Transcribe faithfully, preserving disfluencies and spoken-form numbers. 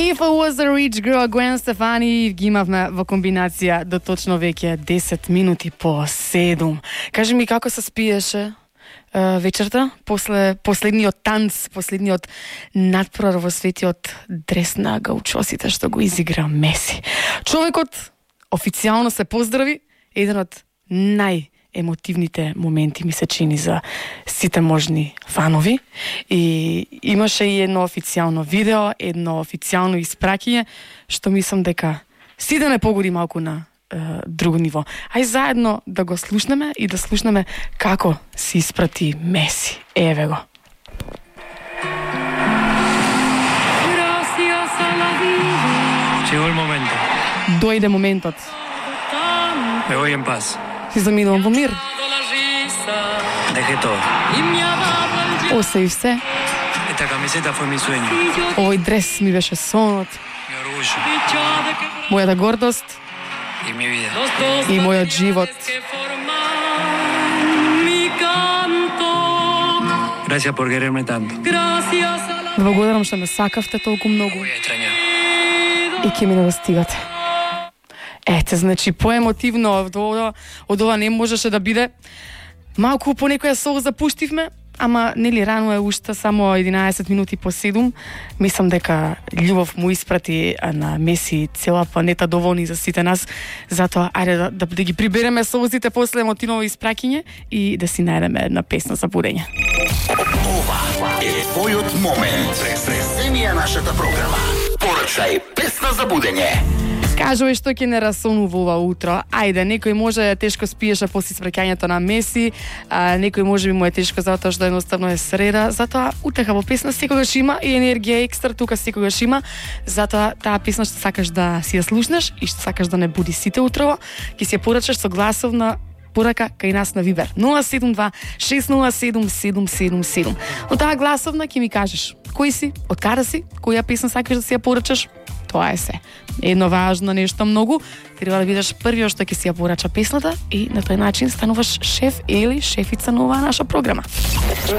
If I was a rich girl, Gwen Stefani ги имавме во комбинација до точно веќе десет минути по седум. Кажи ми како се спиеше uh, вечерта, после последниот танц, последниот надпрор во светиот дрес на гаучосите што го изигра Меси. Човекот официјално се поздрави, еден од нај емотивните моменти ми се чини за сите можни фанови и имаше и едно официјално видео, едно официјално испраќање што мислам дека сите не погоди малку на е, друго ниво. Ај заедно да го слушнеме и да слушнеме како се испрати Меси. Еве го. Llegó el momento. Дојде моментот. Me voy en paz. Си заминувам во мир. Dejé todo. Оставив се. Esta camiseta fue mi sueño. Овој дрес ми беше сонот, Mi orgullo. мојата гордост Y mi vida. и мојот живот. Gracias por quererme tanto. Благодарам што ме сакавте толку многу Voy a extrañar. и ќе ми не го стигате. Ете, значи, поемотивно од ова, од ова не можеше да биде. Малку по некоја солза пуштивме, ама нели рано е уште само единаесет минути по седум. Мислам дека љубов му испрати на Меси цела планета доволни за сите нас. Затоа ајде да, да, да ги прибереме солзите после емотивно испраќање и да си најдеме една песна за будење. Ова е твојот момент. Пресенија нашата програма. Порачај песна за будење. Кажувај што ќе не расонува ова утро. Ајде, некој може тешко спиеше после испраќањето на Меси, а некој може би му е тешко затоа што едноставно е среда, затоа утеха во песна секогаш има и енергија екстра тука секогаш има. Затоа таа песна што сакаш да си ја слушнеш и што сакаш да не буди сите утрово, ќе си ја порачаш со гласовна порака кај нас на Вибер нула седум два шест нула седум седум седум седум. Од таа гласовна ќе ми кажеш кој си, од каде си, која песна сакаш да си ја порачаш. Тоа е се. Едно важно нешто многу, треба да бидеш првиот што ќе си ја порача песната и на тој начин стануваш шеф или шефица на оваа наша програма.